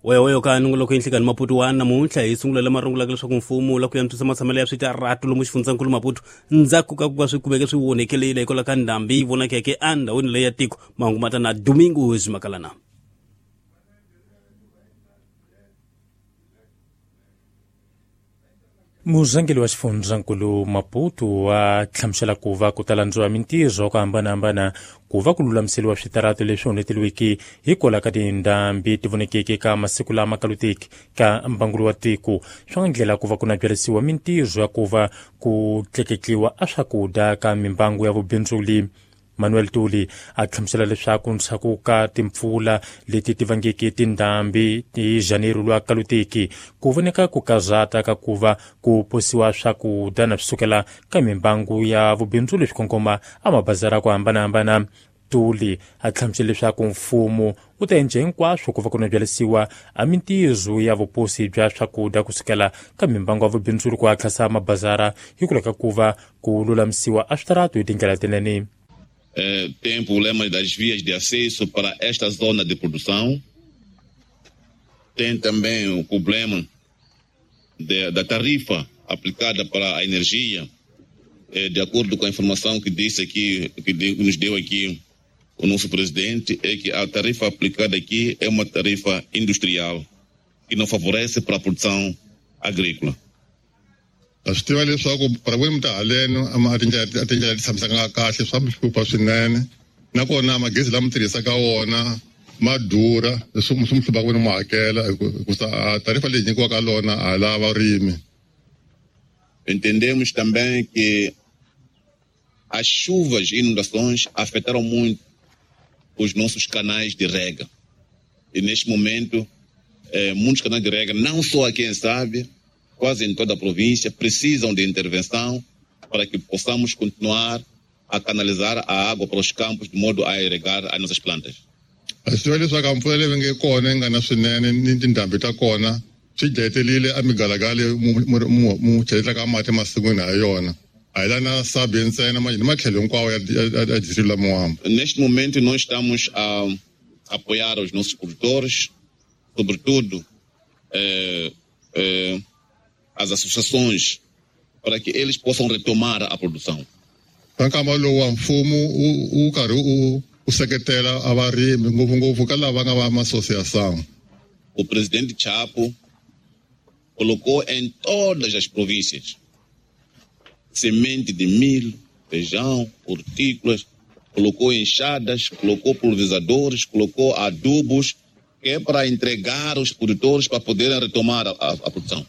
Weweyo ka nongoloko yinhlikani Maputo wa namuntlha hi sungula lama rungulaka leswaku mfumo wu lava ku antswisa matshamelo ya switaratu lomu xifundzankulu Maputo ndzhaku ka ku va swi kumeke swi onhekelile hikwalaho ka ndhambi yi vonakeke endhawini leyi ya tiko. Mahungu ma ta na Domingos Makalana. Murhangeri wa xifundzankulu Maputo wa hlamusela ku va ku ta landziwa mintirho ku hambanahambana ku va ku lulamiseriwa switaratu leswi onheteliweke hikwalaho ka tindhambi ti vonekeke ka masiku lama kaluteki ka mbangulo wa tiko. Swa ndlela ku va ku nabyarisiwa mintirho ya ku va ku tleketliwa a swakudya ka mimbangu ya vubindzuli. Manuel Tuli a hlamusela leswaku ndzhaku ka timpfula leti ti vangeke tindhambi hi Janeiro lwa kaluteki ku voneka ku kazata ka ku va ku posiwa swakudya na swi sukela ka mimbangu ya vubindzuli swi kongoma a mabazara ku hambanahambana. Tuli a hlamusela leswaku mfumo wu ta endla hinkwaswo ku va ku nabyarisiwa a mintirho ya vuposi bya swakudya kusukela ka mimbangu ya vubindzuli ku hatlisa mabazara hikwalaho ka ku va ku lulamisiwa a switaratu hi tindlela tinene. Tem problemas das vias de acesso para esta zona de produção. Tem também o problema da tarifa aplicada para a energia. De acordo com a informação que disse aqui, que nos deu aqui o nosso presidente, é que a tarifa aplicada aqui é uma tarifa industrial que não favorece para a produção agrícola. A swi tiva leswaku para vurimi ta haleno a tindlela ti tshamisaka kahle swa mi hlupha swinene, nakona magezi lama tirhisaka wona ma durha, leswi swi mi hluphaka ni mu hakela hikusa tarifa leyi nyikiwaka lona a lava varimi. Entendemos também que as chuvas e inundações afetaram muito os nossos canais de rega. E neste momento, muitos canais de rega, não só aqui em Sábia, quase em toda a província, precisam de intervenção para que possamos continuar a canalizar a água para os campos de modo a irrigar as nossas plantas. A swi tiva leswaku mpfula leyi nge kona yi nga na swinene ni tindhambi ta kona swi dlayetelile a migalagala mu cheletlaka mati emasin'wini ha yona. A hi la na Sabie ntsena ni matlhelo hinkwawo ya distrito la Moamba. Neste momento nós estamos a apoiar os nossos produtores, sobretudo as associações, para que eles possam retomar a produção. Ka nkama lowu wa mfumo wu karhi wu seketela a varimi ngopfungopfu ka lava nga va ma-associação. O presidente Chapo colocou em todas as províncias semente de milho, feijão, hortícolas, colocou enxadas, colocou pulverizadores, colocou adubos, que é para entregar os produtores para poderem retomar a produção.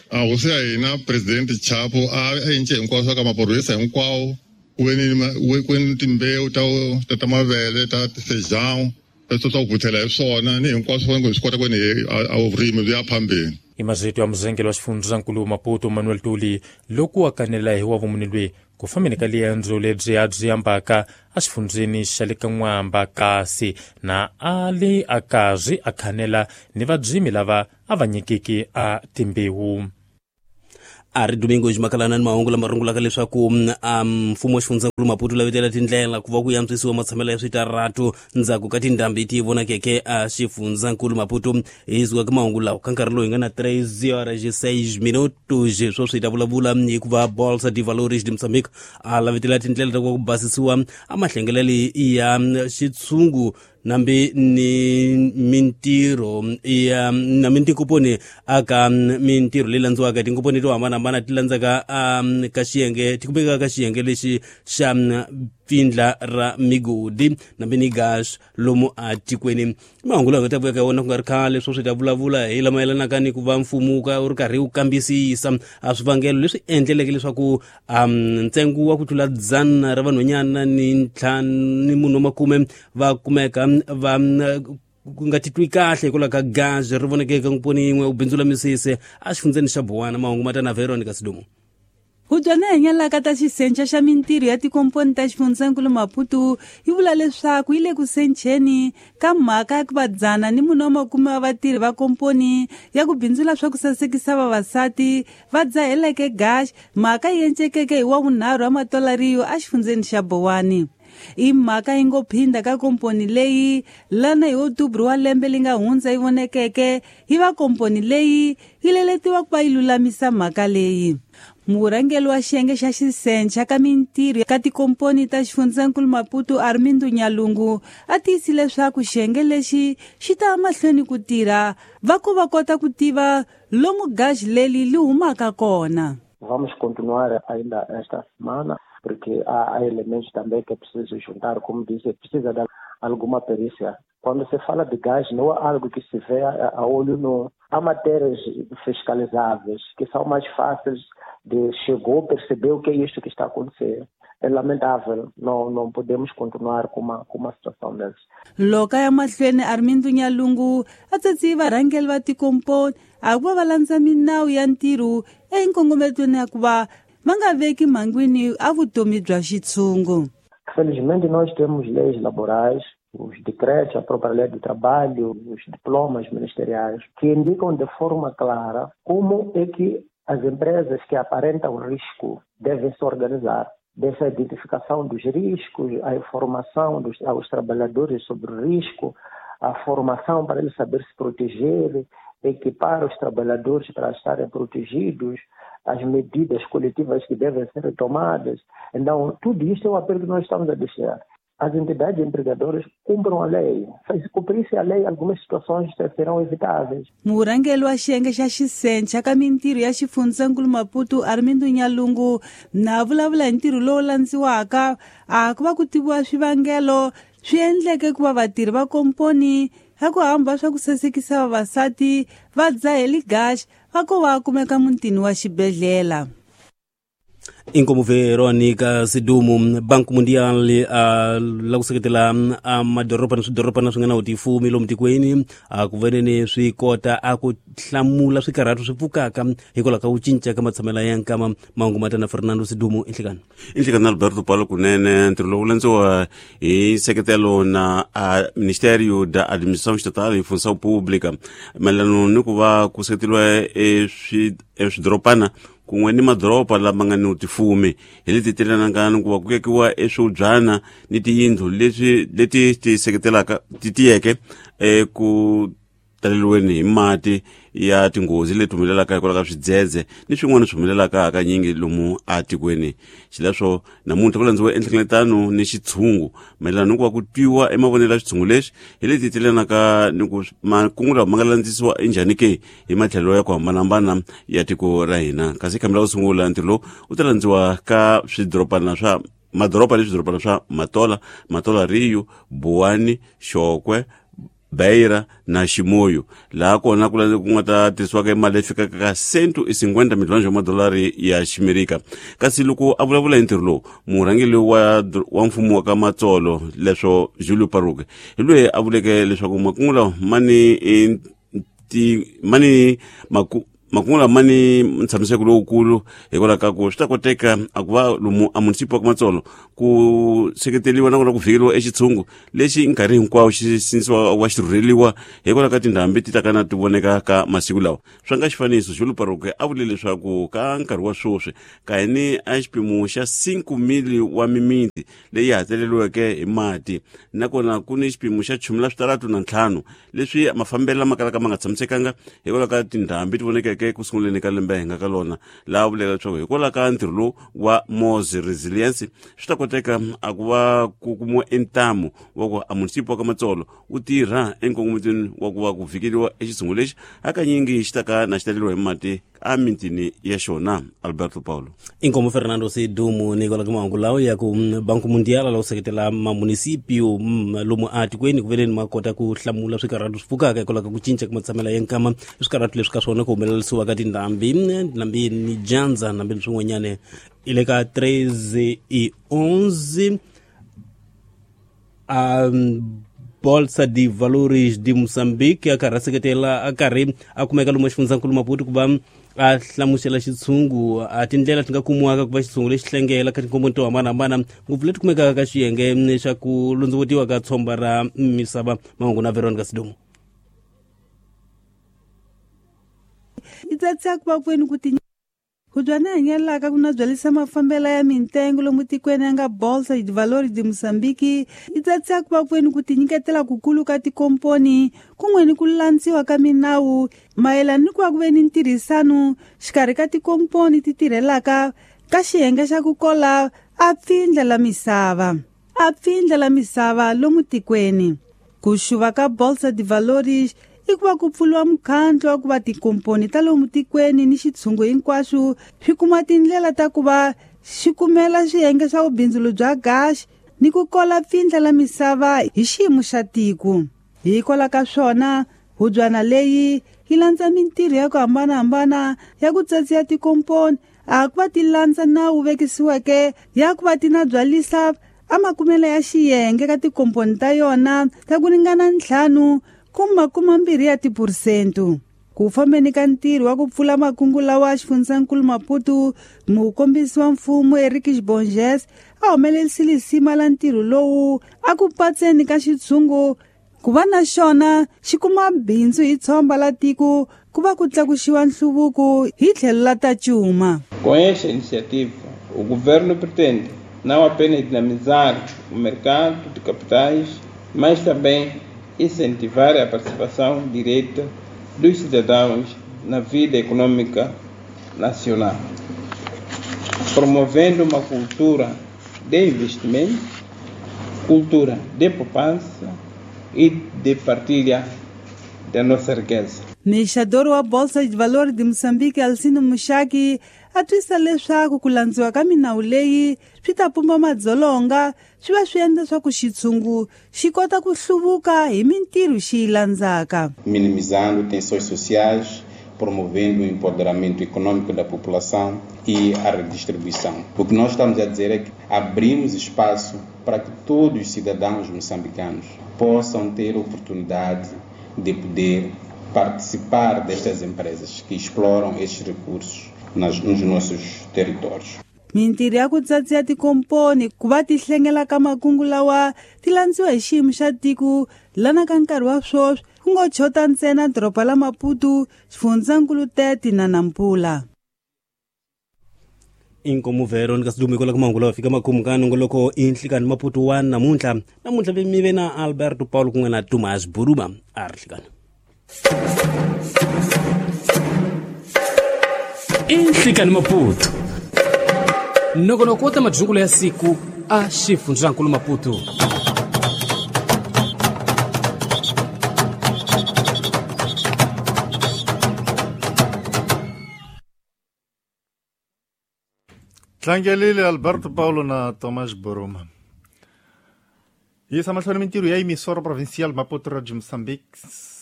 A hosi ya hina presidente Chapo a endle hinkwaswo ka maphorisa hinkwawo ku ve ni timbewu ta mavele ta feijão leswi swa ku vuthela hi swona ni hinkwaswo swi kota ku ni a vurimi byi ya phambeni. I mazito ya muzengeli wa xifundzankulu Maputo Manuel Tuli loko a kanela hi wa vumuni lweyi ku fambeni ka liendzo lebyi a byi ambaka exifundzeni xa le ka N'wamba kasi na a li a karhi a khanela ni vadzimi lava a va nyikiki a timbewu. A ri Domingos Makalana ni mahungu lama rungulaka leswaku mfumo wa xifundzankulu Maputo lavetela tindlela ku va ku antswisiwa matshamelo ya switaratu ndzhaku ka tindhambi ti vonakeke a xifundzankulu Maputo. Hi suka ka mahungu lawa ka nkarhi lowu hi nga na 3 horas e 6 minutos sweswi hi ta vulavula hikuva Bolsa de Valores de Moçambique a lavetela tindlela ta ku va ku basisiwa a mahlengelelo ya xitshungu nambi ni mintirho ya na mintinkoponi aka mintirho leyi landziwaka tinkomponi to hambanahambana ti landzaka ka xiyenge ti kumekaka ka xiyenge lexi xa pfindla ra migodi nambi ni gas lomu atikweni. Mahungu lawa nga ta vuya ka wona ku nga ri khale sweswi hi ta vulavula hi lama yelanaka ni ku va mfumo wu ri karhi wu kambisisa a swivangelo leswi endleleke leswaku ntsengo wa ku tlula 100 ra vanhwanyana ni 5 ni munhu wa 10 va kumeka va ku nga titwi kahle hikwalaho ka gas ri voneke eka nkomponi yin'we u bindzula misisi a xifundzeni xa Bowana. Mahungu ma ta na Veronica Sidumo. Hubyana hanyalaka ta xisenca xa mintirho ya tikomponi ta xifundzankulu Maputo yi vula leswaku yi le ku sencheni ka mhaka ya ku va 110 wa vatirhi va komponi ya ku bindzula swa ku sasekisa vavasati va dzaheleke gash, mhaka yi encekeke hi wa vunharhu wa matolariyo exifundzeni xa Bowani. I mhaka yi ngo phinda ka komponi leyi lana hi Outubro wa lembe li nga hundza yi vonekeke yi va komponi leyi yi leletiwa ku va yi lulamisa mhaka leyi. Murhangeri wa xiyenge xa xisencha ka mintirho ka tikomponi ta xifundzankulu Maputo Armindo Nyalungu a tiyisile leswaku xiyenge lexi xi ta mahlweni ku tirha va ku va kota ku tiva lomu gaji leri li humaka kona. Vamos continuar ainda esta semana, porque há elementos também que é preciso juntar, como disse, precisa de alguma perícia. Quando se fala de gás, não é algo que se vê a olho nu. Há matérias fiscalizáveis que são mais fáceis de chegou, perceber o que é isto que está a acontecer. É lamentável, não podemos continuar com uma situação dessas. Loka ya mahlweni Armindo Nyalungu a tsatsi varhangeri va tikomponi a ku va va landza minawu ya ntirho enkongometweni ya ku va va nga veki mhangwini a vutomi bya xitshungu. Felizmente nós temos leis laborais, os decretos, a própria lei do trabalho, os diplomas ministeriais, que indicam de forma clara como é que as empresas que aparentam risco devem se organizar. Dessa identificação dos riscos, a informação aos trabalhadores sobre o risco, a formação para eles saber se proteger, equipar os trabalhadores para estarem protegidos, as medidas coletivas que devem ser tomadas. Então, tudo isto é um apelo que nós estamos a deixar. As entidades empregadoras cumpram a lei. Se cumprisse a lei, algumas situações serão evitáveis. Murhangeri wa xiyenge xa xisencha ka mintirho ya xifundzankulu Maputo Armindo Nyalungu na vulavula hi ntirho lowu landziwaka a ku va ku tiviwa swivangelo swi endleke ku va vatirhi va komponi ya ku hamba swa ku sasekisa vavasati va dzaheli gaxi va ko va kumeka mutini wa xibedhlele. Inkomu Veronica Sidumu. Banco Mundial la ku seketela madoroba na swidorobana swi nga na vutifumi lomu tikweni a ku veneni swi kota a ku hlamula swikarhato swi pfukaka hikwalaho ka ku cinca ka matshamelo ya nkama. Mahungu ma ta na Fernando Sidumu. Inhlekani inhlekani Alberto Paulo kunene ntirho lowu landziwa hi nseketelo na Ministério da Administração Estatal e Função Pública mayelana ni ku va ku seketeriwa eswidorobana kun'we ni madoroba lama nga ni tifumi hi leti tirhanaka ni ku va ku vekiwa eswibyana ni tiyindlu leswi leti ti seketelaka ti tiyeke eku taleriweni hi mati ya tinghozi leti humelelaka hikwalaho ka swidzedze ni swin'wana swi humelelaka hakanyingi lomu atikweni. Xileswo namuntlha ku landziwa enhlengeletano ni xitshungu mayelana ni ku va ku twiwa emavonelo ya xitshungu lexi hi leti tilanaka ni ku makungu lawa ma nga landzisiwa enjhani ke hi matlhelo ya ku hambanahambana ya tiko ra hina. Kasi khambi ra ku sungula ntirho lowu wu ta landziwa ka swidorobana swa madoroba ni swidorobana swa Matola, Matola Rio, Buwani, Xokwe, Beira na Ximoyo, laha kona ku nga ta tirhisiwaka mali leyi fikaka ka 150 miliyoni ya madolari ya Ximerika. Kasi loko a vulavula hi ntirho lowu, murhangeri wa mfumo wa ka Matsolo leswo Julio Paruke hi loyi a vuleke leswaku makungu lawa ma ni makungu lama ni ntshamiseko lowukulu hikwalaho ka ku swi ta koteka a ku va lomu a munisipi wa ka Matsolo ku seketeriwa nakona ku vhikeriwa exitshungu lexi nkarhi hinkwawo xi sindzisiwa wa xi rhurheliwa hikwalaho ka tindhambi ti ta kana ti voneka ka masiku lawa. Swa nga xifaniso Julio Paruke a vule leswaku ka nkarhi wa sweswi ka ni a xipimo xa 5,000 wa mimiti leyi hakeleriweke hi mati nakona ku ni xipimo xa 35 leswi mafambelo lama kalaka ma nga tshamisekanga hikwalaho ka tindhambi ti vonekeke ku sunguleni ka lembe hi nga ka lona. Laha vuleka leswaku hikwalaho ka ntirho lowu wa Mos Resilience swi ta koteka a ku va ku kumiwa entamu wa ku a munisipi wa ka Matsolo wu tirha enkongometweni wa ku va ku vhikeriwa exitshungu lexi hakanyingi xi ta ka na xi taleriwa hi mati a mitini ya xona. Alberto Paulo. Inkomu Fernando Sidumu ni kwala ka mahungu lawa ya ku Banco Mundial la ku seketela mamunisipio lomu atikweni ku veneni ma kota ku hlamula swikarhato swi pfukaka hikwalaho ka ku cinca ka matshamelo ya nkama, swikarhato leswi ka swona ku humelerisiwa ka tindhambi, ndhambi ni dyandza, ndhambi ni swin'wanyana. I le ka 13:11 Bolsa de Valores de Moçambique a karhi a seketela a karhi a kumeka lomu xifundzankulu Maputo ku va a hlamusela xitshungu a tindlela ti nga kumiwaka ku va xitshungu lexi hlengela ka tinkomponi to hambanahambana ngopfu leti kumekaka ka xiyenge xa ku londzovutiwa ka tshomba ra misava. Mahungu na Veronica Sidumu. I tsatsa ku va kwenu ku ti Hubyana hanyelaka ku na byalisa mafambela ya mintengo lomu tikweni ya nga Bolsa de Valores de Moçambique yi tsatsa ku va kweni ku tinyiketela kukulu ka tikomponi kun'we ni ku landziwa ka minawu mayelana ni ku va ku ve ni ntirhisano xikarhi ka tikomponi ti tirhelaka ka xiyenge xa ku kola a pfindla la misava a pfindla la misava lomu tikweni. Ku xuva ka Bolsa de Valores i ku va ku pfuriwa mukhandlu wa ku va tikomponi ta lomu tikweni ni xitshungu hinkwaswo swi kuma tindlela ta ku va xi kumela swiyenge swa vubindzulo bya gaxi ni ku kola pfindla la misava hi xiyimo xa tiko. Hikwalaho ka swona hubyana leyi yi landza mintirho ya ku hambanahambana ya ku tsatsiya tikomponi a ku va ti landza nawu vekisiweke ya ku va ti na byalisa a makumelo ya xiyenge ka tikomponi ta yona ta ku ringana 5.2 ya tiphurusente. Ku fambeni ka ntirho wa ku pfula makungu lawa xifundzankulu Maputo mukombisi wa mfumo Eric Bonges a humelerisile lisima la ntirho lowu a ku patseni ka xitshungu ku va na xona xi kuma bindzu hi tshomba la tiko ku va ku tlakuxiwa nhluvuko hi tlhelo la ta cuma. Com esta iniciativa, o governo pretende não apenas dinamizar o mercado de capitais, mas também incentivar a participação direta dos cidadãos na vida econômica nacional, promovendo uma cultura de investimento, cultura de poupança e de partilha da nossa riqueza. Mexador wa Bolsa de Valores de Moçambique, Alcino Muxaki, a twisa leswaku ku landziwa ka minawu leyi swi ta pumba madzolonga swi va swi endla swa ku xitshungu xi kota ku hluvuka hi mintirho xi yi landzaka. Minimizando tensões sociais, promovendo o empoderamento econômico da população e a redistribuição. O que nós estamos a dizer é que abrimos espaço para que todos os cidadãos moçambicanos possam ter oportunidade de poder participar destas empresas que exploram estes recursos nos nossos territórios. Mintirho ya ku tsatsiya tikomponi ku va ti hlengela ka makungu lawa ti landziwa hi xiyimo xa tiko lana ka nkarhi wa sweswi ku ngo chota ntsena doroba la Maputo, xifundzankulu Tete na Nampula. Inkomu Veronica Sidumiko la kumangula lawa fika makumu ka nongoloko inhlikani Maputo wa namuntlha namuntlha mi ve na Alberto Paulo kun'we na Thomas Buruba a ri hlikani. Inhlikani Maputo nongonoko wa ta madyungulo ya siku a xifundzankulu Maputo. Tlangelile Alberto Paulo na Tomás Boroma. Yisa mahlweni mintirho ya emissora provincial Maputo ra Moçambique,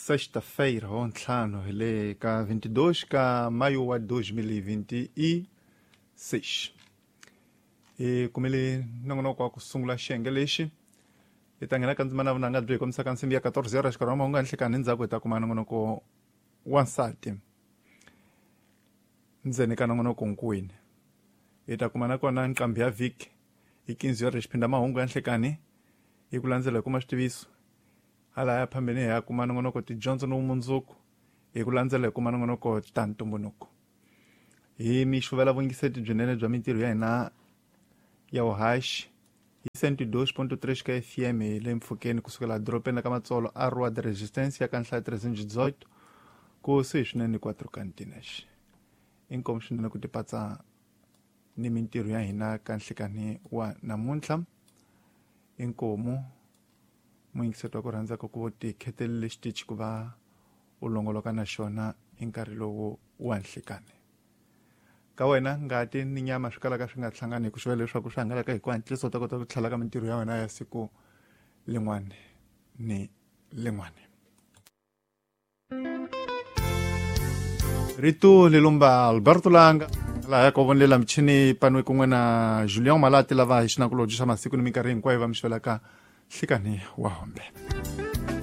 sexta-feira, ou ntlhanu hi le ka 22 ka maio wa 2026. Hi kumile nongonoko wa ku sungula xiyenge lexi hi ta nghena ka ndzimana vunanga byi hi kombisaka nsimbi ya 14 horas xikarhi wa mahungu ya nhlikani endzhaku hi ta kuma nongonoko wa nsati ndzeni ka nongonoko nkwini. Hi ta kuma nakona nqambi ya vhiki hi 15 horas xiphinda mahungu ya nhlikani hi ku landzela hi kuma xitiviso hala ya phambeni hi ya kuma nongonoko tidyondzo ni vumundzuku hi ku landzela hi kuma nongonoko ta ntumbuluko. Hi mi xuvela vungiseti byinene bya mintirho ya hina ya vuhaxi hi 102.3 ka FM hi le mpfhukeni kusukela dorobeni ka Matsolo a Rua de Resistência ka nhlayo 318 kusuhi swinene 4 Cantinas. Inkomu swinene ku tipatsa ni mintirho ya hina ka nhlikani wa namuntlha. Inkomu muyingiseti wa ku rhandzaka ku ti khetelele xitichi ku va u longoloka na xona hi nkarhi lowu wa nhlikani. Ka wena ngati ni nyama swi kalaka swi nga hlangani hi ku xivela leswaku swi hangalaka hi ku hatlisa u ta kota ku tlhela ka mintirho ya wena ya siku lin'wana ni lin'wana. Rito lilumba Alberto Langa laha ka vonela michini panwe kun'we na Julian Malati lava hi xinakulobye xa masiku ni minkarhi hinkwayo va mi xvelaka nhlikani wa hombe.